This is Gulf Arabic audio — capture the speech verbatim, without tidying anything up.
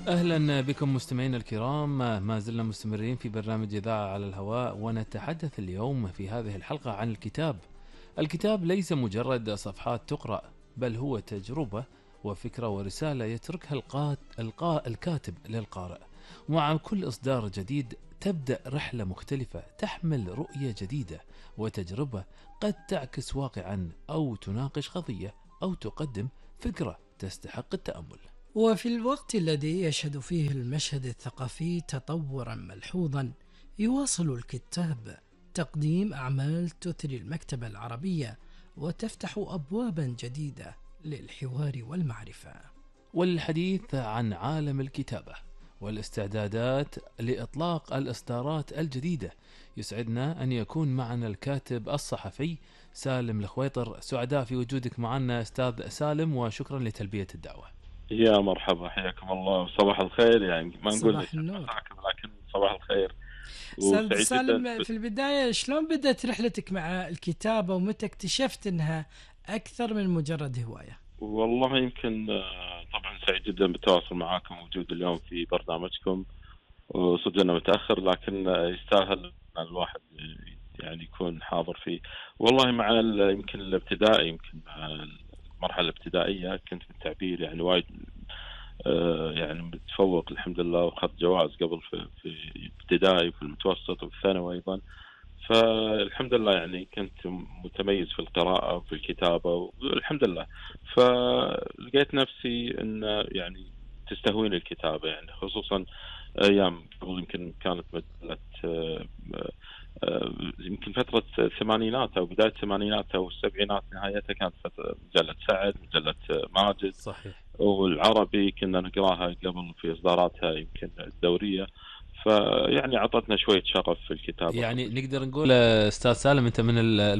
أهلا بكم مستمعينا الكرام، ما زلنا مستمرين في برنامج إذاعة على الهواء، ونتحدث اليوم في هذه الحلقة عن الكتاب. الكتاب ليس مجرد صفحات تقرأ، بل هو تجربة وفكرة ورسالة يتركها القات... القا... الكاتب للقارئ. ومع كل إصدار جديد تبدأ رحلة مختلفة تحمل رؤية جديدة وتجربة قد تعكس واقعا أو تناقش قضية أو تقدم فكرة تستحق التأمل. وفي الوقت الذي يشهد فيه المشهد الثقافي تطورا ملحوظا، يواصل الكتاب تقديم أعمال تثري المكتبة العربية وتفتح أبوابا جديدة للحوار والمعرفة. والحديث عن عالم الكتابة والاستعدادات لإطلاق الإصدارات الجديدة، يسعدنا أن يكون معنا الكاتب الصحفي سالم الخويطر. سعداء في وجودك معنا أستاذ سالم، وشكرا لتلبية الدعوة. يا مرحبا، حياكم الله، صباح الخير. يعني ما نقول صباح النور، لكن صباح الخير. أستاذ سالم، في البداية شلون بدأت رحلتك مع الكتابة ومتى اكتشفت أنها أكثر من مجرد هواية؟ والله يمكن طبعا سعيد جدا بالتواصل معاكم ووجود اليوم في برنامجكم، وصدقنا متأخر لكن يستاهل الواحد يعني يكون حاضر فيه. والله مع يمكن الابتدائي، يمكن مع المرحلة الابتدائية كنت بالتعبير يعني وايد آه يعني متفوق الحمد لله، وأخذت جوائز قبل في في ابتدائي وفي المتوسط وفي الثانوي أيضا. فالحمد لله يعني كنت متميز في القراءة وفي الكتابة والحمد لله. فلقيت نفسي أن يعني تستهويني الكتابة، يعني خصوصا أيام قبل يمكن كانت مجلة آه آه يمكن فترة الثمانينات أو بداية الثمانينات أو السبعينات نهايتها، كانت مجلة سعد، مجلة ماجد. صحيح. والعربي كنا نقراها قبل في إصداراتها يمكن الدورية، فيعني عطتنا شوية شغف في الكتابة. يعني نقدر نقول أستاذ سالم أنت من المحظوظين